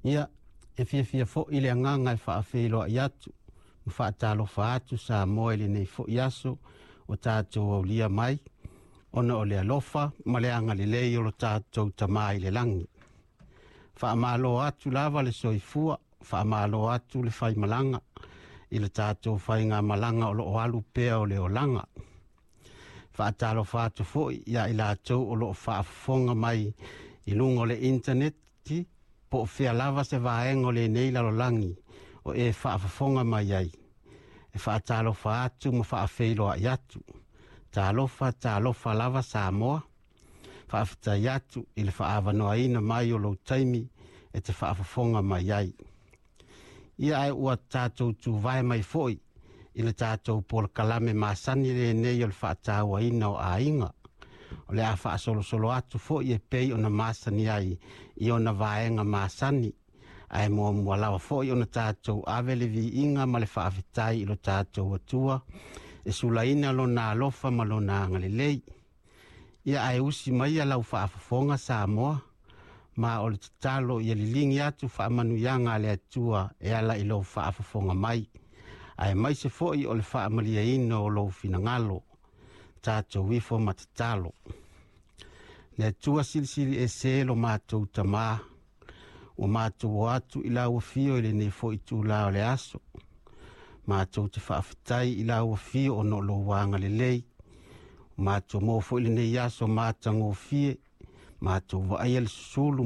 Ia, e fiafia foi le agaga e faafeiloai atu ma faatalofa atu Samoa i lenei foi aso o tatou aulia mai, ona o le alofa ma le agalelei o lo tatou Tamā i le lagi. Faamalo atu lava le soifua, faamalo atu le faimalaga i le tatou faigamalaga o lo o alu pea o le olaga. Faatalofa atu foi ia i latou o lo o faafofoga mai i luga o le intaneti, po o fea lava se vaega o lenei lalolagi o e faafofoga mai ai. E faatalofa atu ma faafeiloai atu. Talofa, talofa lava Samoa. Faafetai atu i le faaavanoaina mai o lou taimi e te faafofoga mai ai. Ia ae ua tatou tuvae mai foi i le tatou polokalame masani lenei o le faatauaina o aiga. O le a faasolosolo atu foi e pei ona masani ai i ona vaega masani, ae muamua lava foi ona tatou ave le viiga ma le faafetai i lo tatou Atua e sulaina lona alofa ma lona agalelei. Ia ae usi mai lau faafofoga Samoa, ma o le tatalo ia liligi atu faamanuiaga a le Atua e ala i lou faafofoga mai, ae maise foi o le faamalieina o lou finagalo. Tatou ifo ma tatalo. Le Atua silisili ese lo matou Tamā, ua matou o atu i lau afio i lenei foi itulā o le aso. Matou te faafetai i lau afio ona o lou agalelei. Ua matou maua foi lenei aso matagofie, matou vaaia le susulu.